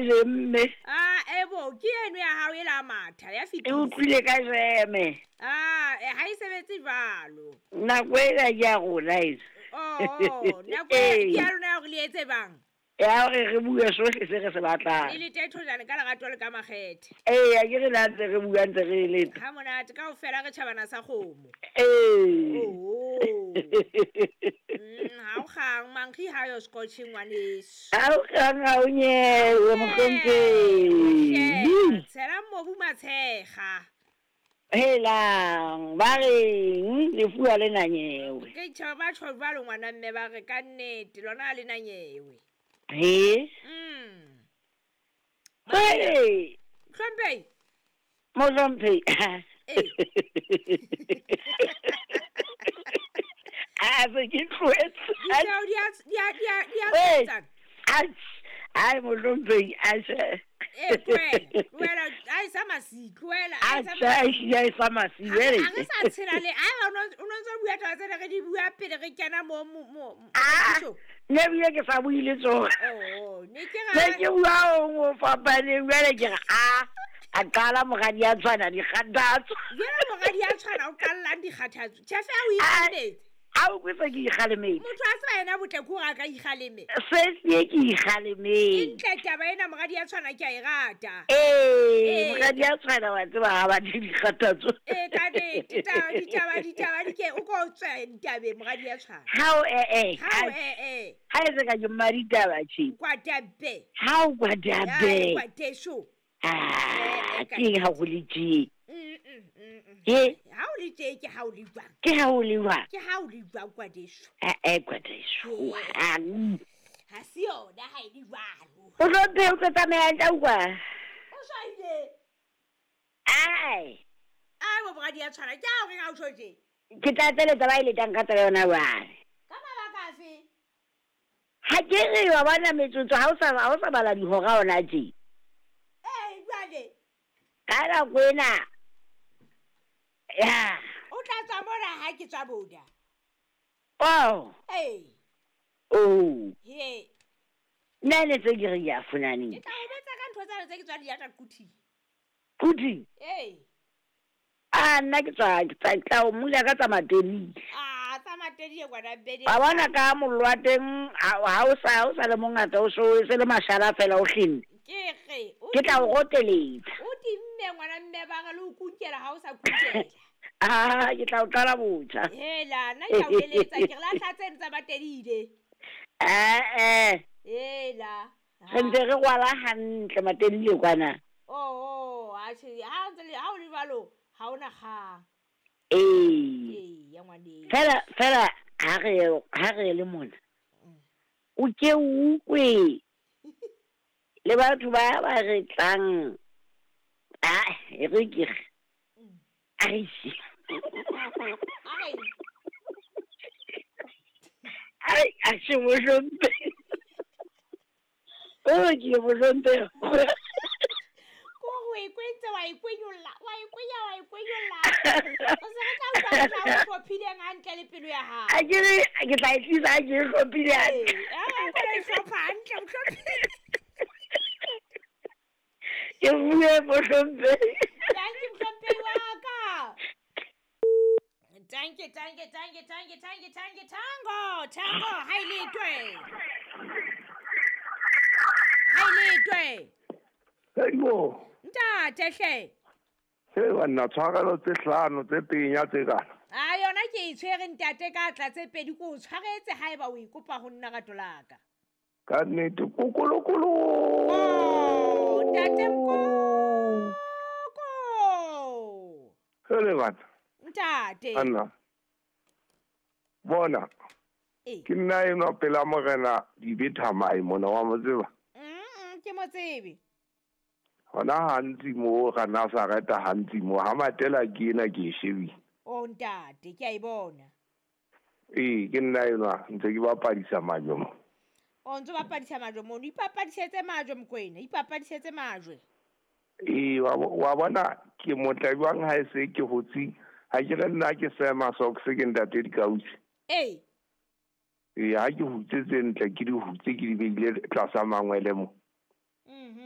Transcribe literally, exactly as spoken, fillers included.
jemme. Ah, ebo ke eno ya hao e la matha ya E fetisa. utlwile ka jeme. Ah, eh, ha e sebetse jwalo. Nako ena ke ya rona e. Oh, nako e ke ya lona ya hore le etse bang. Ya hore re bue sohle se re se Le batlang. le tethojane ka lerato le ka makgethe. Eya, ke re la ntse re bua ntse re eletsa. Ha monate kaofela re tjhabana sa kgomo. Ee. Oh. Mm, ha o kgang mankgi ha yo scotch ngwaneso. Ha o kgang ha o nyewe mohlomphehi. Tshela mobu matshega. Helang, ba reng lefu ha le na nyewe. Ke tjho ba tjho jwalo ngwana mme ba re ka nnete lona ha le na nyewe. He? Mm. Hey, Hlomphehi. mohlomphehi. Eh. A se ke tlohetse. Ditjeo di a di a di a di a Hey. tshwetsana. Ai, mohlomphehi, atjhe. Eh, tlohela, tlohela, ha e sa masi, tlohela, ha e sa Atjhe, a ehlile ha e sa masi, Ha jwale. re sa tshela le ha o no o no ntso bua taba tsena re di bua pele re kena mo mo mo Ah, mo- nna ebile ke sa bue le tsona. Oh, ne ke Ne ra ke bua ho o fapaneng, jwale ke re, ah, a qala moradi a tshwana dikgathatso. Jwale moradi a tshwana o qallang dikgathatso. Tjhefe ha o Ah. ikgalemetse. A o kwetse ke ikgalemetse. Motho a tseba yena botle ke hore a ka ikgaleme. Se sie ke E ikgalemetse. ntle taba ena moradi a tshwana ke a e rata. Ee, Ee. moradi a tshwana wa tseba ha batle dikgathatso. Ee, ka nnete, taba ditaba ditaba di ke o ko tswe ditabeng moradi a tshwana. Hao eh eh. Ha o eh eh. Ha e se ka ke mmaditaba tje. Kwatabe. Hao Ya kwadabe. kwateso. Ah, Eh, eh, ka ke eng ha ho le tje? Mm mm mm. mm. He, Ha o le tje ke ha o le jwang. ke ha ho le jwang? Ke ha o le jwang kwateso. Eh eh kwadeso. Hang. Ha se yona ha e le jwalo. O hlomphe o tlo tsamaya ntla kwa. O shwaile. Ai, Ai bo moradi a tshwana ke ha o reng ha o tjho tje. ke tla tseletsa ba e letang ka tsela yona jwale. Ka mabaka afe? Ha ke re wa bona metsotso ha o sa ha o sa bala dihora hona tje. Eh jwale Ka nako ena. Ya. o tla tswa mona ha ke tswa boda. Oh, Eh. oh. He. Nna ne tse ke re ke a fonaneng. Ke tla o betsa ka ntho tsane tse ke tswa di yata kuthi. Kuthi. Eh. Ah, nna ke tswa ke tla tla o mula ka tsa matelile. Ah, tsa matedi e kwana bede. Wa bona ka mollo wa teng ha ha o sa ha o sa le mongata o so e se le mashala fela o hlenne. Ke re o Ke tla o roteletsa. o timme ngwana mme ba re le o kunkela ha o sa kunkela. Ah, ke tla o qala botjha. Hela, nna ke a o eletsa ke re lahla tseno tsa matedile. Eh eh. Hela. Re ntse re rwala hantle matelile kwana. Oh, oh, atjhe, ha o ntse le ha o le jwalo, ha ona kgang. Ee. Ee, ya ngwaneso. Fela fela ha re ha re le mona. O ke o utlwe le batho ba ba re tlang. Ah, e re ke re. A re se. A re Ai, a se mohlomphe. Oh, ke mohlomphe. ko o e kwentse wa e kwenyolla, wa e kwenya wa e kwenyolla. O se re tla utlwa mohla o hlophileng hantle le pelo ya hao. A ke re ke tla e tlisa ke e hlophile Ee, hantle. ha o ka e hlopha hantle, o hlophile. Ke bue mohlomphe. Tanki mohlomphehi wa ka. Tanki, tanki, tanki, tanki, tanki, tanki, tango, tango, ha e letwe. Ha e letwe. Hei bo. Ntate hle. Hei banna, tshwarelo tse hlano tse penya tse kana. A yona ke e tshwere ntate ka tla tse pedi ko o tshwaretse haeba o ikopa ho nna rato la ka. Ka nnete kokolokolo. Oh, ntate Mkoko. Hele bana. Ntate. Anna. Bona. Eh. Ke nna enwa pela morena dibethamai mona wa mo tseba. Mm, ke mo tsebe. Hona hantsi mo ga Nazareta hantsi mo ha matela ke ena ke e shebile. Oh ntate, ke a e bona. Ee, ke nna enwa ntse ke bapadisa majwe mo. O ntso bapadisa majwe mono, ipapadisetse majwe Mokoena, ipapadisetse majwe. Ee, wa bo- wa bona ke motla jwang ha e se ke hotse ha ke re nna ke sema socks ke ntate dikausi. Ee. Ee, ha ke hutse tse ntle ke di hutse ke di beile tlasa mangwele mo. Mhm.